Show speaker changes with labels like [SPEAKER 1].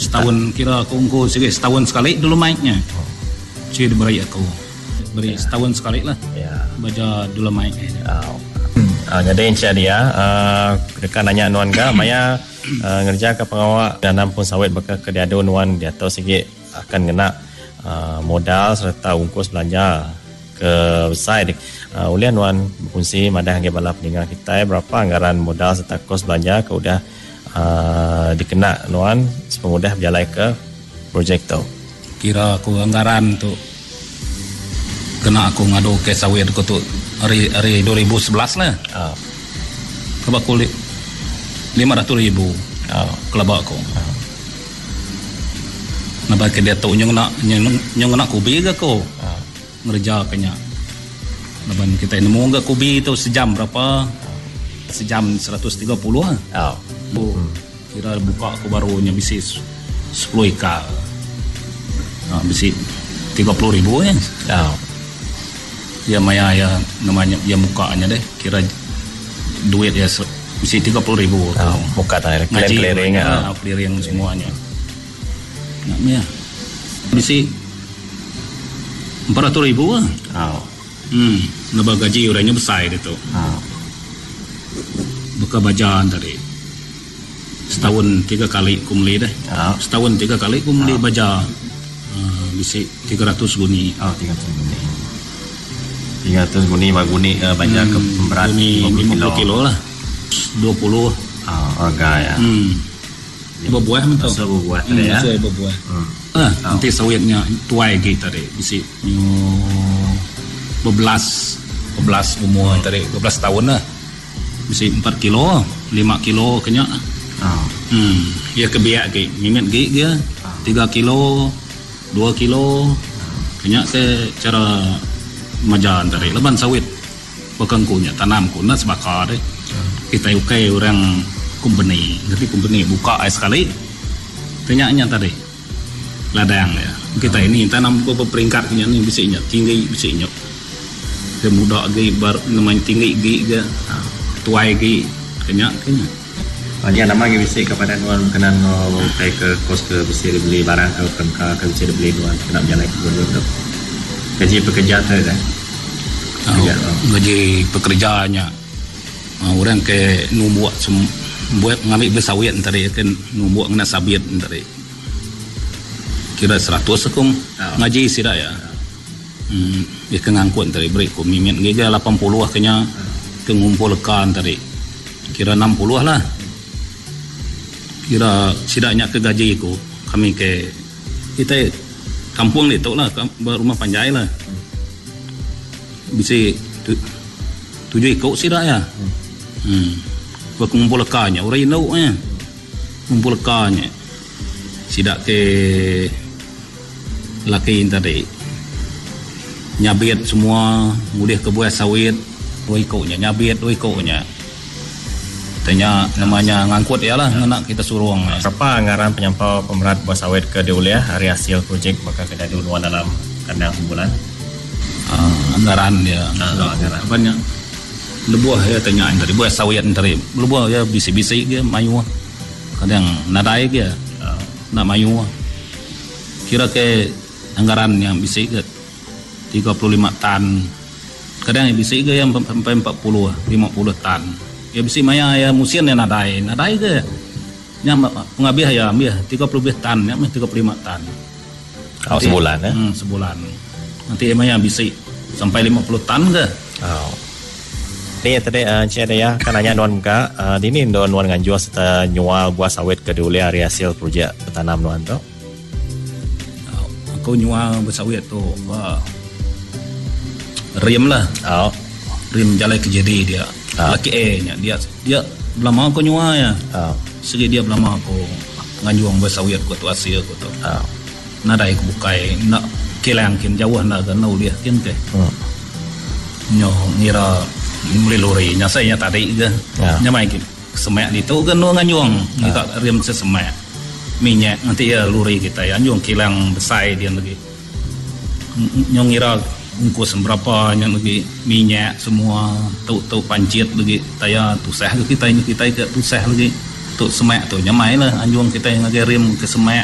[SPEAKER 1] Setahun kira aku engku sigi setahun sekali dolomite nya. Sigi diberi aku. Beri setahun sekali lah. Baja dolomite nya.
[SPEAKER 2] Nyadi encik dia deka nanya nuan ga maya ngereja ka pengawa nanam pun sawit baka ke diadu nuan diatu sigi akan ngena modal sereta ungkus belanja ke besai ulih nuan bekunsi madah ngagai bala peninga kitai berapa anggaran modal sereta kos belanja ke udah dikena nuan sepengudah bejalai ke projek tu.
[SPEAKER 1] Kira aku anggaran tu kena aku ngadu kes sawit aku tu ari ari 2011 lah.
[SPEAKER 2] Oh.
[SPEAKER 1] Keba aku 500,000 kelaba aku.
[SPEAKER 2] Oh.
[SPEAKER 1] Laban ke diatu nyu ngena nyu ngena kubi ga aku.
[SPEAKER 2] Oh.
[SPEAKER 1] Ngereja ke nya. Laban kitai nemu ga kubi tu sejam berapa? Sejam 130 lah.
[SPEAKER 2] Oh.
[SPEAKER 1] Bu kira buka aku baru nya bisi 10 ekar. Ha, bisi 30,000 nya.
[SPEAKER 2] Oh.
[SPEAKER 1] Ya maya ya nama nya ya muka nya deh kira duit ya bisi 30,000 aku.
[SPEAKER 2] Oh, muka tadi
[SPEAKER 1] Ngaji
[SPEAKER 2] clearing
[SPEAKER 1] ha, clearing semuanya. Nak meh. Bisi 400,000 lah.
[SPEAKER 2] Oh.
[SPEAKER 1] Leba gaji orang nya besai ditu.
[SPEAKER 2] Oh.
[SPEAKER 1] Baka baja tadi. Setahun 3 kali ku meli deh.
[SPEAKER 2] Oh.
[SPEAKER 1] Setahun 3 kali ku meli
[SPEAKER 2] Oh.
[SPEAKER 1] baja. Bisi 300 guni.
[SPEAKER 2] Oh, 300 guni. 300 guni ba guni baja ke berat
[SPEAKER 1] Guni
[SPEAKER 2] 50
[SPEAKER 1] 50
[SPEAKER 2] kilo.
[SPEAKER 1] kilo lah. 20.
[SPEAKER 2] Oh, harga ya.
[SPEAKER 1] Bebuah meh tu.
[SPEAKER 2] Masuk bebuah tadi ya.
[SPEAKER 1] Masuk bebuah. Enti sawit nya tuai agi tadi bisi nyu bebelas bebelas umur tadi bebelas taun lah. Bisi 4 kilo, 5 kilo ke nya. Iya ke biak agi mimit agi ge 3 kilo, 2 kilo ke nya ke cara maja tadi laban sawit baka engku nya tanam ku enda sebaka deh. Kitai ukai orang kompeni, ngerti kompeni buka ai sekali ke nya nya tadi ladang iya. Kitai ni tanam beberapa peringkat ke nya ni bisi nya tinggi bisi nya ke muda agi baru nama tinggi agi ke tuai agi ke nya ke nya.
[SPEAKER 2] Nya nama agi bisi ke padah nuan berkenan enggau utai ke kos ke bisi dibeli barang ke perengka ke bisi dibeli nuan kena bejalai ke kebun tu. Gaji pekerja tu dah.
[SPEAKER 1] Gaji pekerja nya orang ke numbuk buat ngambi beli sawit tadi ke numbuk ngena sabit tadi. Kira 100 aku ngaji sida ya. Dia ke ngangkut tadi beri ku mimit giga 80 ke nya ke ngumpul leka tadi. Kira 60 lah. Kira sida nya ke gaji ku kami ke kita kampung ditu lah rumah panjai lah. Bisi 7 iku sida ya. Ke ngumpul leka nya orang indu nya. Ngumpul leka nya. Sida ke laki tadi nyabit semua ngulih ke buah sawit 2 iku nya nyabit 2 iku nya. Tanya namanya ngangkut iya lah ngena kita surung.
[SPEAKER 2] Berapa anggaran penyampau pemerat buah sawit ke diulih ari hasil projek baka ke diadu nuan dalam kandang sebulan?
[SPEAKER 1] Anggaran dia.
[SPEAKER 2] Anggaran.
[SPEAKER 1] Banyak. Lebuh iya tanya tadi buah sawit tadi lebuh iya bisi-bisi ke mayuh. Kadang nadai ke nak mayuh. Kira ke anggaran yang bisi ke 35 tan. Kadang yang bisi ke yang sampai 40, 50 tan. Ya bisi maya ya musim yang nadai, nadai ke. Nya pengabih ya ambil 30 lebih tan, nya meh 35 tan.
[SPEAKER 2] Oh, sebulan ya?
[SPEAKER 1] Sebulan. Nanti maya bisi sampai 50 tan ke.
[SPEAKER 2] Oh. Ni tadi Encik Daya kan nanya nuan muka, dini nuan nuan nganjur serta nyual buah sawit ke diulih ari hasil projek betanam nuan tu?
[SPEAKER 1] Aku nyual buah sawit tu ba rim lah.
[SPEAKER 2] Oh.
[SPEAKER 1] Rim jalai ke jadi dia.
[SPEAKER 2] Oh.
[SPEAKER 1] Laki A nya dia dia belama aku nyual ya.
[SPEAKER 2] Oh.
[SPEAKER 1] Segi dia belama aku nganjung buah sawit ku tu hasil ku tu.
[SPEAKER 2] Oh.
[SPEAKER 1] Nadai ku bukai nak kilang kin jauh nak ke nak ulih kin ke. Nyo ngira beli lori nya saya nya tadi ke.
[SPEAKER 2] Ya.
[SPEAKER 1] Nya mai ke semak ditu ke nu nganjung ngiga rim sesemak minyak nanti ya lori kita ya anjung kilang besai dia lagi. Nyo ngira ungkus berapa nya lagi minyak semua tu-tu pancit lagi taya tusah ke kita nya kita ke tusah lagi. Tu semak tu nya mai lah anjung kita ngagai rim ke semak.